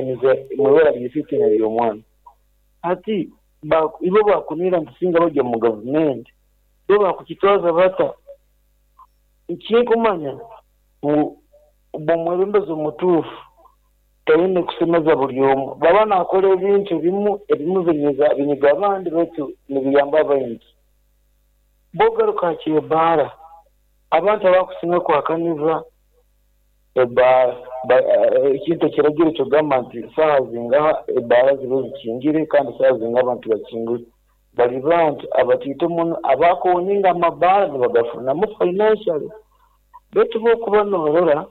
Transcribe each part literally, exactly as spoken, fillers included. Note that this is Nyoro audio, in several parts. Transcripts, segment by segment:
Okuganiza mwibara ly'isitina ly'omwana. Hati ibo bakunira nti singa bajja mu gavumenti, bo bakukitwaza bata? Nkinkumanya ngu omwebembezi omutuufu taine kusemeza buli omu. Baba naakora ebintu ebimu, ebimu binyiza binyiga abandi, baitu nibiyamba abaingi. Bw'ogaruka ha ky'ebbaara, abantu abakusinga kuhakaniza ebbaara, ekintu ekiragiro ekigamba nti saaha zingaha ebbaara zibe zikingire kandi saaha zingaha abantu bakingule, bali bantu abatiito muno abaku-owninga amabaara nibagafunamu financially. Baitu bw'okuba noorora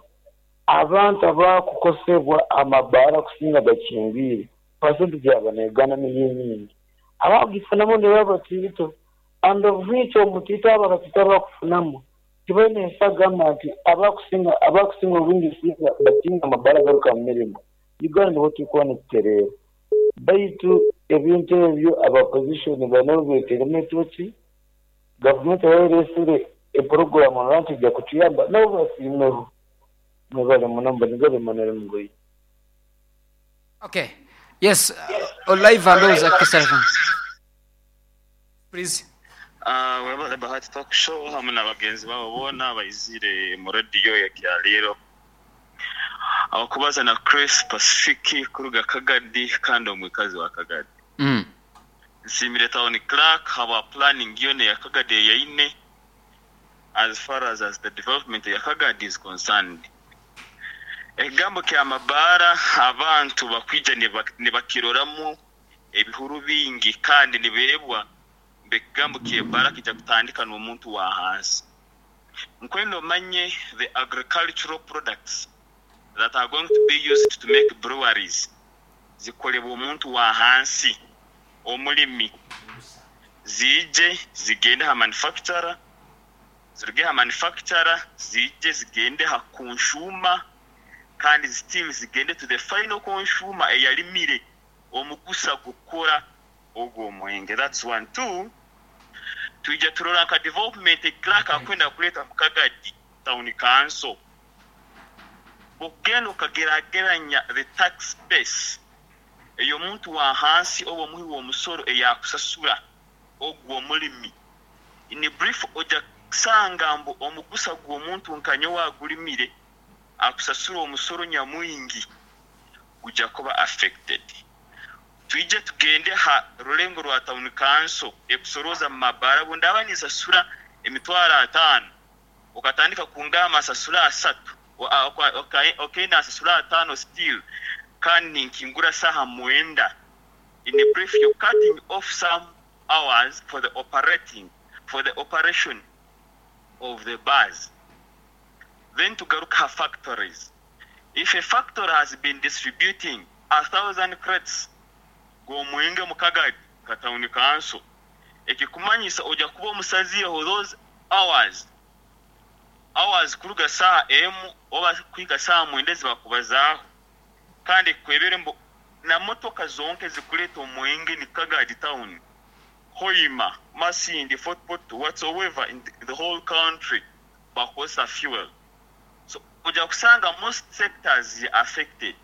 abantu abakukosebwa amabaara kusinga gakingwire, percentage yabo neegana niyo nyingi. Abakugifunamu nibo abatiito, and of which omutiito abo abatiito abakufunamu tibaine ensagama nti abakusinga abakusinga obwingi singa bakinga amabaara garuka mu mirimo, Uganda niho turikuba nitutereera. Baitu ebintu ebyo aba opposition baine obu beeteremu etoki, gavumenti eraba ereesire eprogram nti ejja kutuyamba, nabo basiimeho. Mwebale muno, Mbonigabe Emmanuel Mugoyi. Okay. Yes, uh, live and ndowooza Kisarafa. Please. Uh, webale Bahati Talk Show hamwe na bagenzi babo boona baizire mu rediyo ya Kyaliro. Abakubaza na Chris Pacific kuruga Kagadi kandi omwikazi wa Kagadi. Mm. Nsiimire town clerk habwa planning yona eya Kagadi eyaine as far as, as the development ya Kagadi is concerned. Ekigambo kya mabaara, abantu bakwija nibakiroramu ebihuru bingi kandi nibeebwa mbu ekigambo ky'ebbaara kijja kutandika n'omuntu wa hansi. Nkwenda omanye the agricultural products that are going to be used to make breweries zikolebwa omuntu wa hansi, omulimi, ziije zigende ha manufacturer, ziruge ha manufacturer ziije zigende ha consumer, kandi still zigende to the final consumer eyalimire omugusa gukora ogwo omwenge. That's one. Two, twija turora nka development clerk akwenda kuleeta mu Kagadi Town Council, okugenda okagerageranya the tax base ey'omuntu wa hansi oba omuhi w'omusoro eyakusasura ogwo omulimi, in brief ojja kusanga mbu omugusa gw'omuntu nka nyowe agulimire akusasura omusoro nyamwingi gujja kuba affected. Twije tugende ha rulengo rwa town council ekusorooza mu mabaara. Bwe ninsasura emitwaro ataano, okatandika kungamba nsasura asatu, okay, nansasura ataano still kandi ninkingura saaha mwenda, in brief you're cutting off some hours for the operating for the operation of the bars. Then tugaruka ha factories. If a factory has been distributing a thousand crates g'omwenge mu Kagadi ka town council, ekikumanyisa ojja kuba omusazireho those hours hours kuruga saaha emu oba kuhika saaha mwenda ezibakubazaaho, kandi kwebere mbu na motoka zonka ezikuleeta omwenge ni Kagadi town, Hoima, Masindi, Fort Portal, whatsoever in the whole country bakozesa fuel. So ojja kusanga most sectors affected.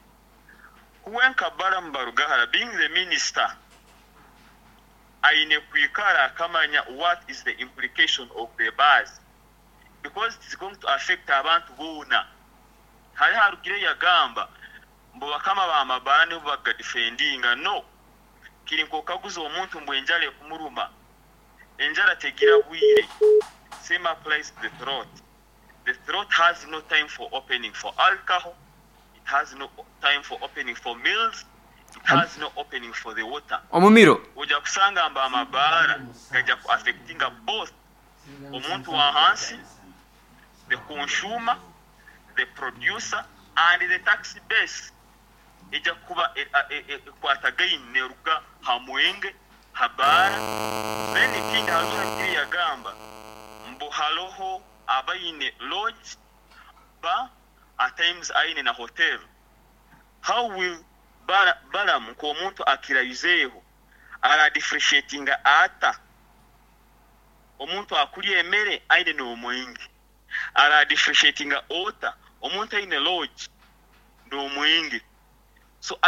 Kuwenka Balaam Barugahara being the minister, aine kwikara akamanya what is the implication of the bars, because it is going to affect abantu boona. Hari harugire yagamba mbu bakama b'amabaara nibo bagadefendinga. No, kiri nk'okaguza omuntu mbu enjala ekumuruma, enjala tegira bwire. Same applies to the throat. The throat has no time for opening for alcohol, it has no time for opening for meals, it has no opening for the water. Omumiro. Ojja kusanga mbu amabaara gajja ku affectinga both omuntu wa hansi, the consumer, the producer and the tax base ejja kuba ekwatagaine neruga ha mwenge, ha baara. Then ekindi, hariho hakiri yagamba mbu haroho abaine lodge, bar, at times aine na hotel. How will Balaam nk'omuntu akirayizeeho aradifferentiatinga ata omuntu akulya emere aine n'omwenge, aradifferentiatinga ota omuntu aine lodge n'omwenge? So